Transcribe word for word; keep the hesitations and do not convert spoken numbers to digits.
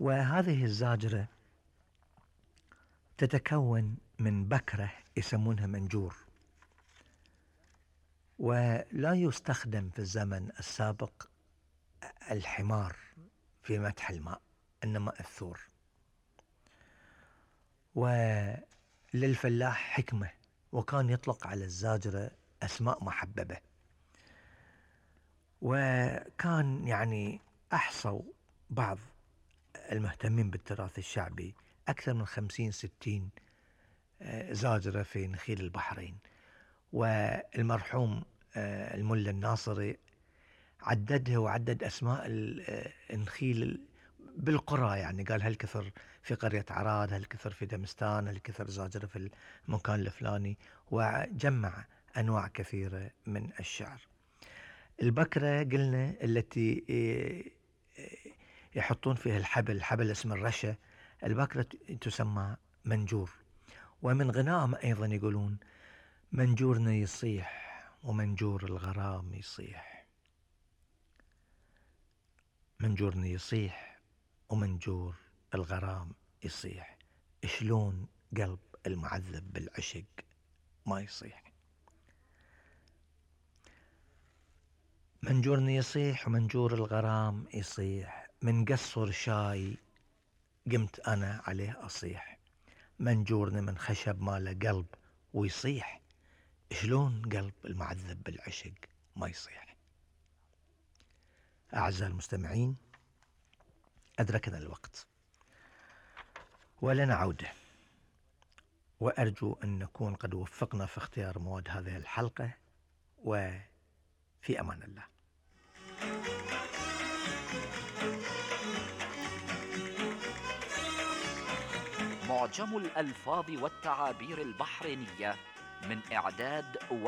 وهذه الزاجرة تتكون من بكرة يسمونها منجور، ولا يستخدم في الزمن السابق الحمار في مدح الماء، إنما الثور. وللفلاح حكمة، وكان يطلق على الزاجرة أسماء محببة، وكان يعني أحصوا بعض المهتمين بالتراث الشعبي أكثر من خمسين ستين زاجرة في نخيل البحرين. والمرحوم الملا الناصري عددها وعدد أسماء النخيل بالقرى، يعني قال هالكثر في قرية عراد، هالكثر في دمستان، هالكثر زاجرة في المكان الفلاني، وجمع أنواع كثيرة من الشعر. البكرة قلنا التي يحطون فيها الحبل، الحبل اسم الرشة، البكرة تسمى منجور. ومن غنائهم أيضا يقولون منجورنا يصيح ومنجور الغرام يصيح، منجورنا يصيح ومنجور الغرام يصيح، شلون قلب المعذب بالعشق ما يصيح. منجورنا يصيح ومنجور الغرام يصيح، من قصر شاي قمت أنا عليه أصيح، منجورنا من خشب ماله قلب ويصيح، شلون قلب المعذب بالعشق ما يصيح. أعزائي المستمعين، أدركنا الوقت ولنا عودة، وأرجو أن نكون قد وفقنا في اختيار مواد هذه الحلقة، وفي أمان الله. معجم الألفاظ والتعابير البحرينية من إعداد